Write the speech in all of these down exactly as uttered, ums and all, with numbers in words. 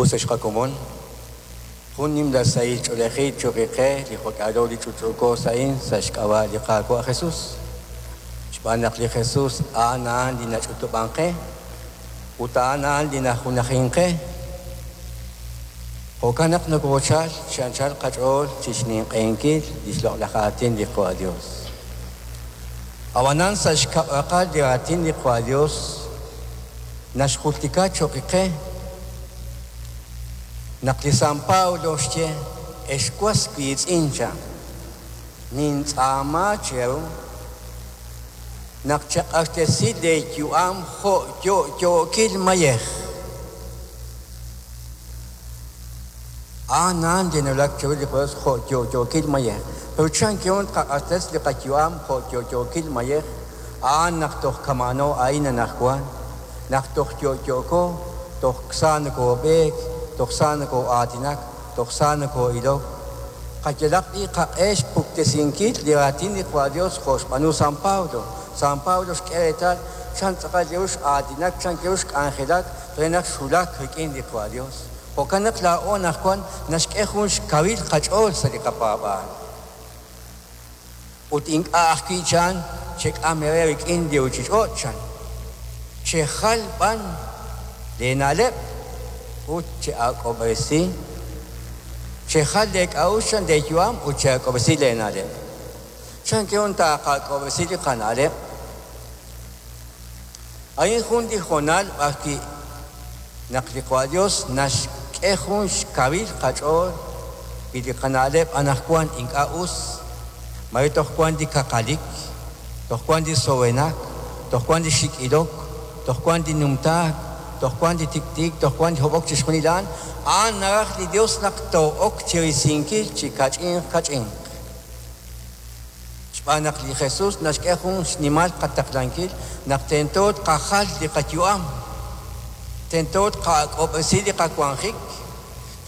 Us ex qakomon, jun nimla sahil ch'oolejil cho'q qe li jo'k'aalo li ch'utch'uuko sa'in sa' xk'ab'a' li Qaawa' Jesus. Xb'aan naq li Jesus a'an a'an li nach'utub'an qe ut a'an a'an li najunajin qe. Jo'kan naq nokoochal chi anchal qach'ool chi xninq'ehinkil li xloq'laj aatin li Qaawa' Dios. Ab'anan sa' xkab'raqal li raatin li Qaawa' Dios naxjultika cho'q qe naq li San Pablo xye ex was wiitz'in cha nintz'aama cheru naq chaq'axtesi leeyu'am jo' yo'yookil mayej. A'an a'an li nawulak chiru li Dios jo' yo'yookil mayej. Pero chan kihun tqaq'axtes li qayu'am jo' yo'yookil mayej a'an naq toj kama'ano a'in anajwan naq toj yo'yooko toj sa nokob'eek toj sa nokoo'aatinak toj sa nokoo'ilok qayalaq li qaq'e xpuktesinkil li raatin li Qaawa' Dios jo' xb'aanu San Pablo. San Pablo xk'e reetal chan tz'aqal li x'aatinak chan kiru xk'anjelak re naq xwulak rik'in li Qaawa' Dios. Jo'kan naq laa'o anajwan naxk'e jun xkawil qach'ool sa' li qapaab'aal. Ut ink'a' ajwi' chan chek'am eere rik'in li ruuchich'och' chan. Chejal b'an leena'leb' ut che'ak'ob'resi chejal leek'a'uxl chan leeyu'am ut che'ak'ob'resi leena'leb'. Chan kihun taaqak'ob'resi li qana'leb'. A'in jun li hoonal b'arwi' naq li Qaawa' Dios naxk'e jun xkawil qach'ool wi li qana'leb' anajwan ink'a' us mare toj wan li kaqalik, toj wan li sowenak, toj wan li xik'ilok, toj wan li numtaak, toj wan li tiktik, toj wan li hob'ok chixjunil a'an, a'an naraj li Dios naq too'ok chirisinkil chi kach'inq kach'inq. Xb'aan naq li Jesus naxk'e jun xnimal qataqlankil naq tento tqajal li qayu'am, tento tqak'ob'resi li qawanjik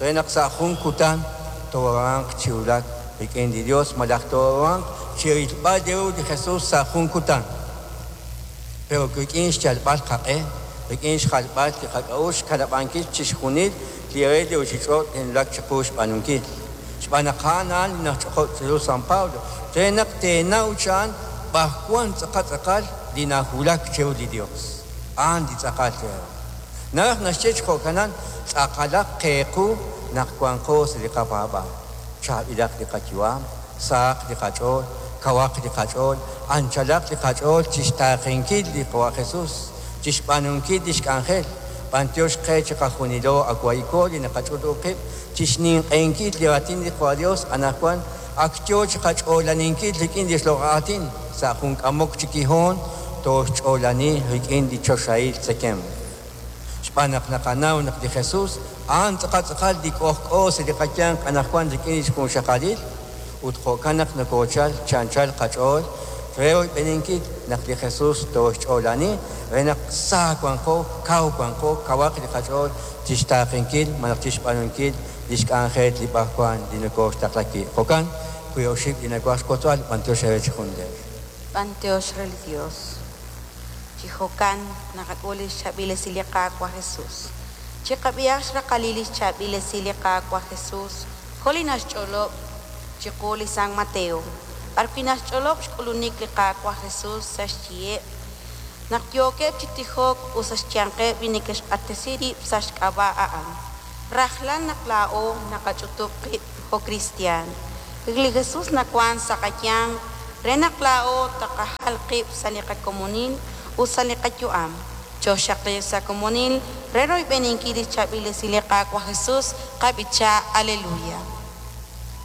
re naq sa' jun kutan tooruhanq chi wulak rik'in li Dios malaj tooruhanq chi rilb'al ru li Jesus sa' jun kutan. Pero rik'in xyalb'al qaq'e, rik'in xjalb'al li qak'a'uxl xkanab'ankil chixjunil li re li ruuchich'och' li nawulak chiqu xb'aanunkil. Xb'aan naq a'an a'an li najch'oqo' chiru San Pablo re naq teenaw chan b'ajwan tz'aqal tz'aqal li nawulak chiru li Dios. A'an li tz'aqal reeru. Naraj naxye chi jo'kanan tz'aqalaq qeequ naq wanqo sa' li qapaab'aal. Chaab'ilaq li qayu'am, sahaq li qach'ool, kawaq li qach'ool, anchalaq li qach'ool chixtaaqenkil li Qaawa' Jesus, chixb'aanunkil li xk'anjel, b'antiox qe chi qajunilo awayko li naqach'utub' qib' chixninq'ehinkil li raatin li Qaawa' Dios anajwan ak yoo chi qach'oolaninkil rik'in li xloq'laj aatin sa' jun k'amok chi kihoon tooxch'oolani rik'in li choxahil tzekemq. Xb'aan naq naqanaw naq li Jesus a'an tz'aqal tz'aqal li k'ojk'o sa' li qayanq anajwan rik'in li xjunxaqalil ut jo'kan naq nokoochal chi anchal qach'ool re royb'eninkil naq li Jesus tooxch'oolani re naq sa wanqo, kaw wanqo, kawaq li qach'ool chixtaaqenkil malaj chixb'aanunkil li xk'anjel li b'ajwan li nokooxtaqlaki. Jo'kan wi oxib' li nawaj xwotzb'al b'antiox eere chi junleer. B'antiox re li Dios. Chi jo'kan naqak'ul li xchaab'il esil li Qaawa' Jesus. Chiqab'ihaq xraqalil li xchaab'il esil li Qaawa' Jesus jo' li naxch'olob' chiqu li San Mateo. B'arwi' naxch'olob' xk'ulunik li Qaawa' Jesus sa' xyiheb' naq yookeb' chi tijok ut sa' xyanqeb' li neke'xq'axtesi rib' sa' xk'ab'a' a'an. Rajlal naq laa'o naqach'utub' qib' jo' kristiaan. Li Jesus nawan sa' qayanq re naq laa'o taqajal qib' sa' li qakomonil ut sa' li qayu'am. Choxaqli sa' komonil re royb'eninkil li xchaab'il esil li Qaawa' Jesus qab'icha' Aleluya.